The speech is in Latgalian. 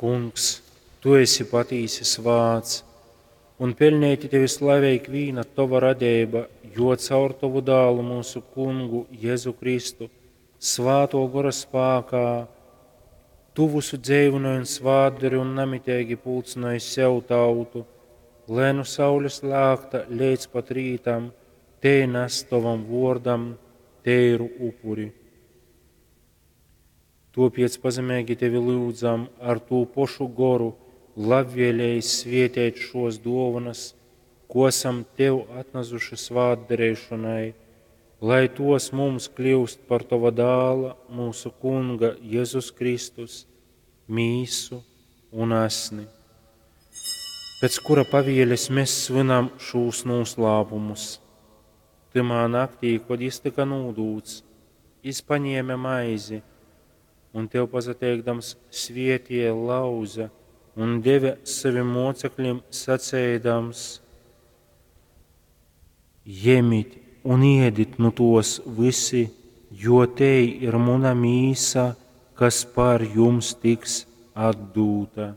Kungs, tu esi patīsi svāts, un peļneiti tevi slavej ikvīna tova radeiba, jo caur tovu Dālu myusu Kungu Jezu Kristu, Svātō Gora spākā, tu vysu dzeivynoj un svātdori un namiteigi pulcynoj sev tautu, lai nu saules lākta leidz pat rītam tei nas tovam vōrdam teiru upuri. Tōpēc pazemeigi tevi lyudzam ar tū pošu Goru labvēleigi svēteit šōs dōvonas, ko asam tev atnasuši svātdareišonai, lai tōs mums kļyust par tova Dāla, myusu Kunga Jezus Kristus, mīsu un asni. Pēc kura pavēles mēs svinam šūs nūslāpumus. Tymā naktī, kod jys tyka nūdūts, jys paņēme maizi un tev pasateikdams svētīja, lauze un deve sovim mōceklim, saceidams: Jemit un ēdit nu tōs vysi, jo tei ir muna mīsa, kas par jums tiks atdūta.